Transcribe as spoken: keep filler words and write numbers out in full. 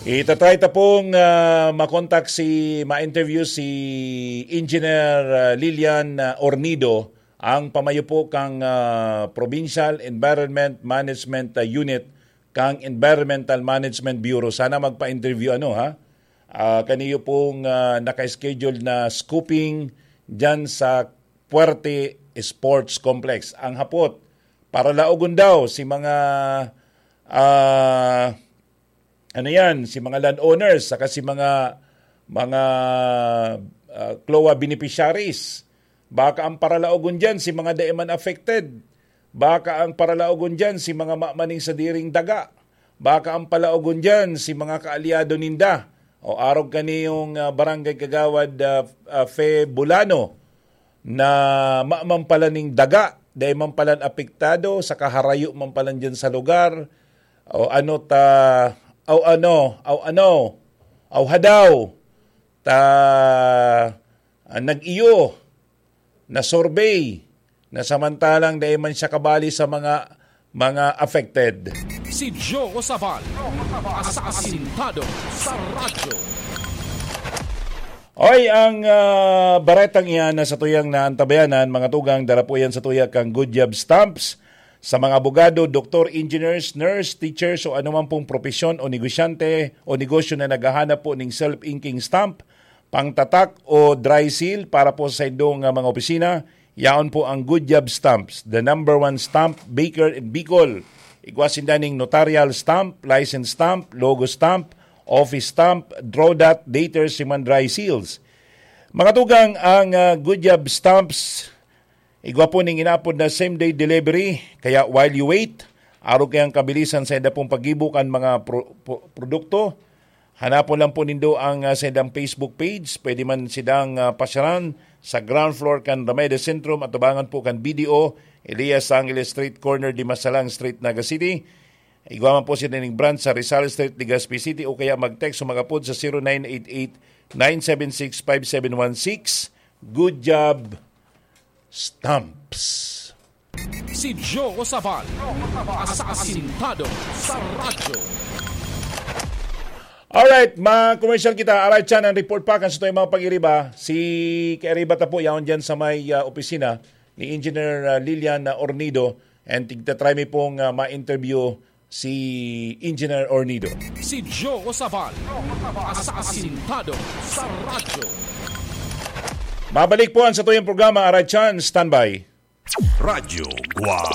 Itatry ta pong, ah, makontak si, ma-interview si Engineer, ah, Lilian, ah, Ornido, ang pamayo po kang, ah, Provincial Environment Management, ah, Unit kang Environmental Management Bureau. Sana magpa-interview, ano, ha? Ah, kaniyo pong, ah, naka-schedule na scooping dyan sa Puerte Sports Complex. Ang hapot, paralaogon daw si mga, ah, ano yan, si mga landowners, saka si mga, mga, ah, CLOA beneficiaries. Baka ang paralaogon dyan, si mga dai man affected. Baka ang paralaogon dyan, si mga mamaning sadiring daga. Baka ang palaogon dyan, si mga kaalyado ninda. O arog kaniyong, ah, barangay kagawad, ah, ah, Fe Bulano, na maman pala ning daga, dai man palan apektado, sa kaharayo man palan dyan sa lugar, o ano ta, o ano, o ano, o hadaw, ta, ah, nag-iyo, na-survey, na samantalang dai man siya kabali sa mga, mga affected. Si Joe Sabal, asasintado sa radyo. Oy, ang, ah, baretang iyan na sa tuyang naantabayanan, mga tugang, dara po yan sa tuya kang Good Job Stamps. Sa mga abogado, doktor, engineers, nurse, teachers o anuman pong propesyon o negosyante o negosyo na naghahanap po ning self-inking stamp, pangtatak o dry seal para po sa indong, ah, mga opisina, yaon po ang Good Job Stamps, the number one stamp maker in Bicol. Igwa sinda ning notarial stamp, license stamp, logo stamp, office stamp, drawdot, dater, siman dry seals. Mga tugang, ang, ah, Good Job Stamps, igwa po ning inaapod na same-day delivery. Kaya while you wait, arog kayang kabilisan sa enda pong paggibo kan mga pro-, pro-, produkto, hanapon lang po nindo ang, ah, sa indang Facebook page. Pwede man sidang, ah, pasyaran sa ground floor kan Rameda Centrum, atubangan po kan B D O, Elias Angeles Street, corner Dimasalang Street, Naga City. Igwa man po sila ning branch sa Rizal Street, Legazpi City, o kaya mag-text o mag-apod sa zero nine eight eight, nine seven six, five seven one six. Good job, Stamps. Si Joe Sabal, asasintado sa radyo. Alright, ma-commercial kita. Alright, Chan, ang report pa kan sa tuyang mga pag-iriba. Si kairiba ta po, yaon dyan sa may, ah, opisina ni Engineer, ah, Lilian, ah, Ornido. And tigtatry mi pong, ah, ma-interview si Engineer Ornido. Si Joe Sabal, asasintado sa radyo. Mabalik po ang sa tuyang programa, Aray Chan, standby. Radyo Guwang.